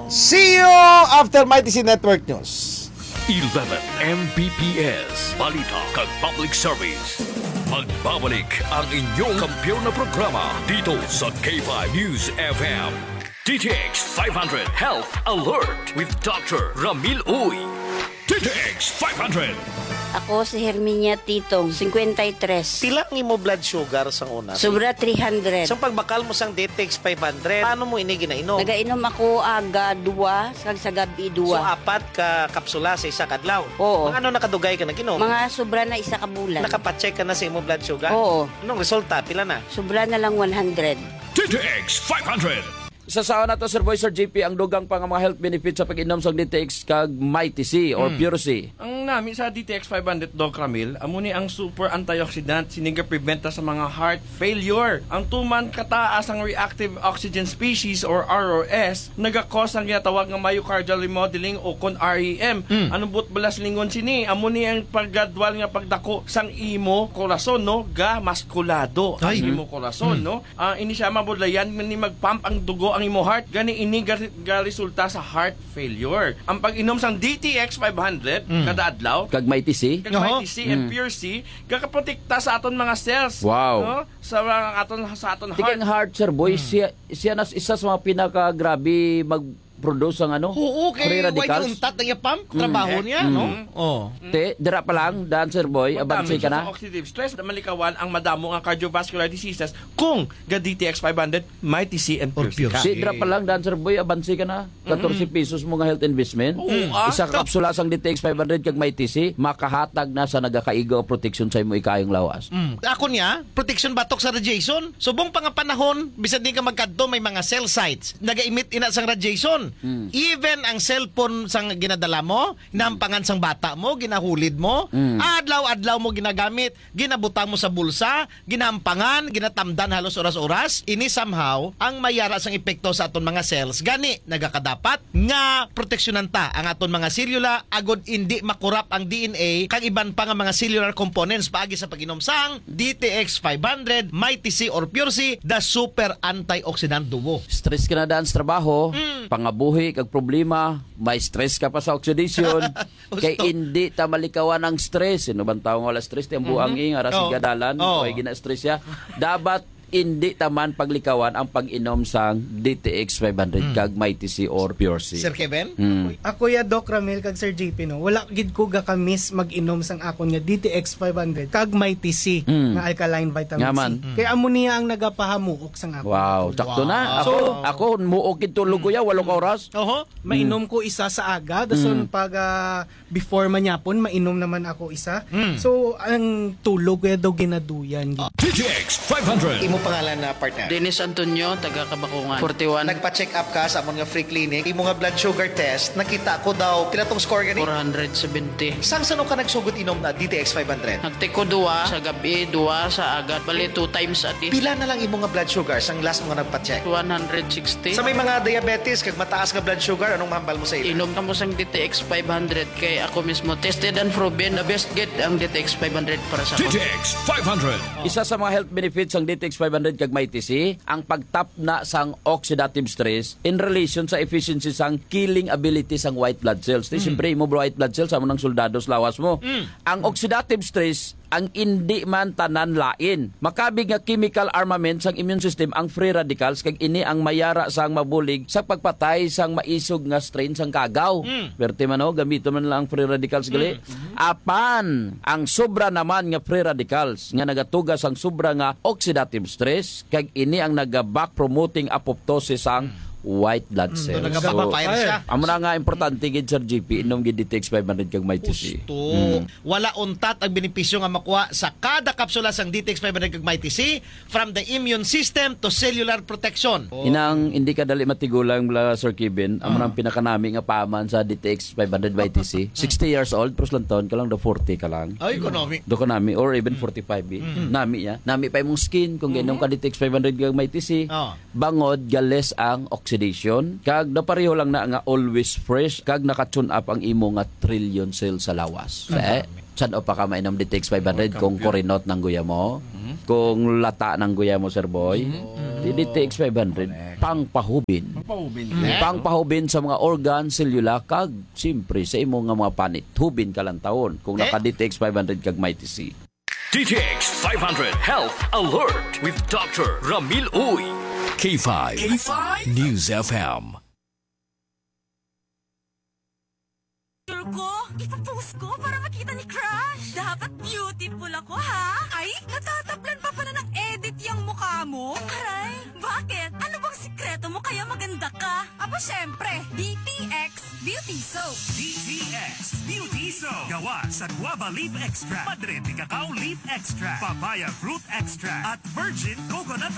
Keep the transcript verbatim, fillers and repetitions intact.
See you after Mighty C Network News. Eleven M B P S, balita kag public service. Magbabalik ang inyong kampiyon na programa dito sa K five News F M. D T X five hundred Health Alert with Doctor Ramil Uy. D T X five hundred. Ako si Herminia Titong, fifty-three. Pila ang imo blood sugar sang una? Sobra three hundred. Sa pagbakal mo sang D T X five hundred, paano mo ini ginainom? Nagainom ako aga dua, kag sa gabi So, dua. apat ka kapsula sa isa ka adlaw? Oo. Mga ano nakadugay ka nag-inom? Mga sobra na isa ka bulan. Nakapacheck ka na sa imo blood sugar? Oo. Anong resulta? Pila na? Sobra na lang one hundred. D T X five hundred. Sa saon nato, Sir Boy, Sir J P, ang dugang pa nga mga health benefits sa pag-inom sang D T X kag Mighty C or Mm. Pure C. Ang nami sa D T X five hundred, Doc Ramil, amo ni ang super antioxidant, sini ga-prevent sa mga heart failure. Ang tuman kataas ang reactive oxygen species or R O S, nagakos ang ginatawag nga myocardial remodeling o kon R E M. Mm. Anong buot bala silingon sini? Amo ni ang paggradual nga pagdako sang imo korason, no? Ga maskulado ang Ay. imo korason, Mm. no? Ah, ini siya mabudlayan ni mag-pump ang dugo ang imo heart. Gani ini ga-, ga-resulta sa heart failure. Ang pag-inom sang D T X five hundred Mm. kada adlaw, Kag Mighty C? kag Oho. Mighty C and Mm. Pure C, gakaprotekta sa aton mga cells. Wow. No? Sa mga aton, sa aton Tika heart. ang heart, Sir Boy, Mm. siya, siya na isa sa mga pinakagrabe mag-produce ang ano? Oo, kay Free why radicals? niya untat ang iya pump? Mm. Trabaho niya, Mm. no? Oh. Te, dira pa lang, dan, Sir Boy, abansi Magdamage ka siya na. sa oxidative stress na malikawan ang madamo nga cardiovascular diseases kung ga D T X five hundred, Mighty C and Or Pure C Pure ka. C. Di, dira pa lang, dan, Sir Boy, abansi ka na. Katorse Mm. pesos mo nga health investment. Oo, Mm. ah. Isa ka kapsula sang D T X five hundred kag Mighty C, makahatag na sa nagakaigo nga proteksyon sa imo ikaayong lawas. Mm. Ako niya, protection batok sa radiation. Subong pa nga panahon, bisan di ka magkadto, may mga cell sites. Nagaimit ina sang radiation. Mm. Even ang cellphone sang ginadala mo, nampangan sang bata mo, ginahulid mo, Mm. adlaw-adlaw mo ginagamit, ginabutang mo sa bulsa, ginampangan, ginatamdan halos oras-oras. Ini somehow ang mayara sang epekto sa aton mga cells. Gani, nagakadapat nga proteksyonan ta ang aton mga selula agod indi makurap ang D N A kag iban pa nga mga cellular components paagi sa pag-inom sang D T X five hundred, Mighty C or Pure C, the super antioxidant duo. Stress ka na daan sa trabaho, Mm. pangabuhi kag problema, may stress ka pa sa oxidation. Kay Gusto. hindi ta malikawan ang stress. Sino bang tao nga wala stress? Ti ang buang Mhm. nga ara Oo. sigadalan, Oo. o ay gina-stress siya. Dapat hindi ta man paglikawan ang pag-inom sang D T X five hundred Mm. kag Mighty C or Pure C. Sir Kevin? Mm. Ako ya, Doc Ramil kag Sir J P, no, wala gid ko gakamis mag-inom sang akon nga D T X five hundred kag Mighty C Mm. nga alkaline vitamin Nga C. man. Mm. Kay amo niya ang nagapahamuok sang akon Wow, tulog. sakto na. Wow. Ako, So, ako, muok gid tulog ko ya, walo ka oras. Oho. Mainom Mm. ko isa sa aga, dason Mm. pag, ah, before manyapon, mainom naman ako isa. Mm. So, ang tulog ko ya daw ginaduyan gid. D T X five hundred. Imo pangalan na, partner? Dennis Antonio, taga Kabakungan, forty-one. Nagpa-check up ka sa amon nga free clinic. Imo nga blood sugar test, nakita ko daw, pila tong score gani? Four hundred seventy. Sang sano ka nagsugod inom na D T X five hundred? Nagtiko duwa sa gabi, duwa sa agat. Bali, two times a day. Pila na lang imo nga blood sugar sang last mo nga nagpa-check? One hundred sixty. Sa may mga diabetes kag mataas nga blood sugar, anong mahambal mo sa ila? Inom kamo sang D T X five hundred kay ako mismo tested and proven, the best gid ang D T X five hundred para sa D T X five hundred. Isa sa mga health benefits sang D T X five hundred kag Mighty C, ang pagtapna sang oxidative stress in relation sa efficiency sang killing ability sang white blood cells. Ti, Mm. siyempre, imo white blood cells, amo nang soldado sa lawas mo. Mm. Ang oxidative stress, ang indi man tanan lain. Makabig nga chemical armament sang immune system ang free radicals, kag ini ang mayara sang mabulig sa pagpatay sang maisog nga strain sang kagaw. Mm. Perte man, oh, gamiton man lang ang free radicals gali. Mm. Apan ang sobra naman nga free radicals nga nagatuga sang sobra nga oxidative stress, kag ini ang naga-back promoting apoptosis sang Mm. white blood Mm, cells. nagapapapire So, siya. amo na nga importante gid, Sir G P, inom gid D T X five hundred kag Mighty C. Gusto. Mm. Wala untat ang benepisyo nga makuha sa kada kapsula sang D T X five hundred kag Mighty C, from the immune system to cellular protection. Inang hindi ka dali matigulang, bala, Sir Kevin, amo Ah. nang pinakanami nga paman sa D T X five hundred Mighty C. Sixty years old, pero lang taon ka lang, do forty ka lang. Ay, ko nami. Do ka nami, or even Mm. forty-five, eh. Mm. Nami ya. Nami pa imong skin kung gainom ka Mm. D T X five hundred kag Mighty C. Oh. Bangod ga less ang oxidation, kag napareho lang na nga always fresh, kag naka-tune up ang imo nga trillion cell sa lawas. Mm. Eh, san-o pa ka mainom D T X five hundred Welcome, kung Pure. Kurinot nang guya mo? Mm. Kung lata nang guya mo, Sir Boy? Mm. Di D T X five hundred. Correct. pangpahubin. Pangpahubin. Mm. Pangpahubin sa mga organ, selula, kag siyempre sa imo nga mga panit. Hubin ka lang taon kung Eh? naka D T X five hundred kag Mighty C. D T X five hundred Health Alert with Doctor Ramil Uy. K five K five News F M. Picture ko, ipapost ko para makita ni crush. Dapat beautiful ako, ha? Ay, natataplan pa pala ng edit yung mukha mo. Aray, bakit? Ano bang sikreto mo kaya maganda ka? Aba, syempre, D T X Beauty Soap. D T X Beauty Soap. Gawa sa guava leaf extract, madre de cacao leaf extract, papaya fruit extract, at virgin coconut